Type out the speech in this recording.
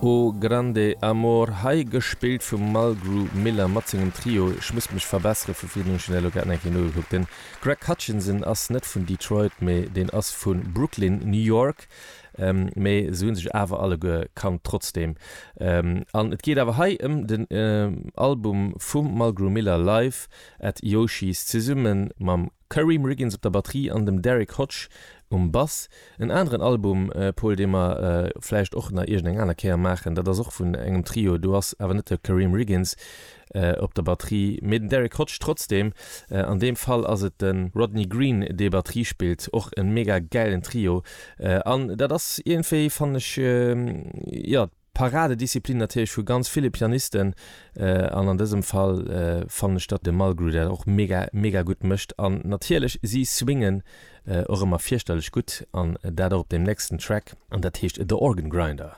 O Grande Amor, hei gespillt vum Mulgrew Miller mat sengem Trio. Ech muss mech verbessere vu virdrun, ech hunn dat elo grad nach eng Kéier nogekuckt. Den Greg Hutchinson ass net vun Detroit, mee deen ass vu Brooklyn, New York. Mee se hu sech awer alleguer kannt trotzdeem. An et geet awer hei ëm den Album vum Mulgrew Miller Live at Yoshi's zesumme mam Karriem Riggins op der Batterie an dem Derrick Hodge um Bass. En aneren Album, Paul, dee mer vläicht och nach iergend eng aner Kéier maachen, dat ass och vun engem Trio, do ass awer net de Karriem Riggins op der Batterie, mee den Derrick Hodge trotzdem. An deem Fall ass et de Rodney Green, dee Batterie spillt, och e mega gäilen Trio. An dat ass iergendwéi, fannen ech, jo, Paradedisziplin natierlech vu ganz ville Pianisten an an dësem Fall fannen ech datt de Mulgrew dat och mega mega gutt mécht an natierlech si swingen och ëmmer fierchterlech gutt an dat och op deem nächsten Track an dat heescht The Organ Grinder.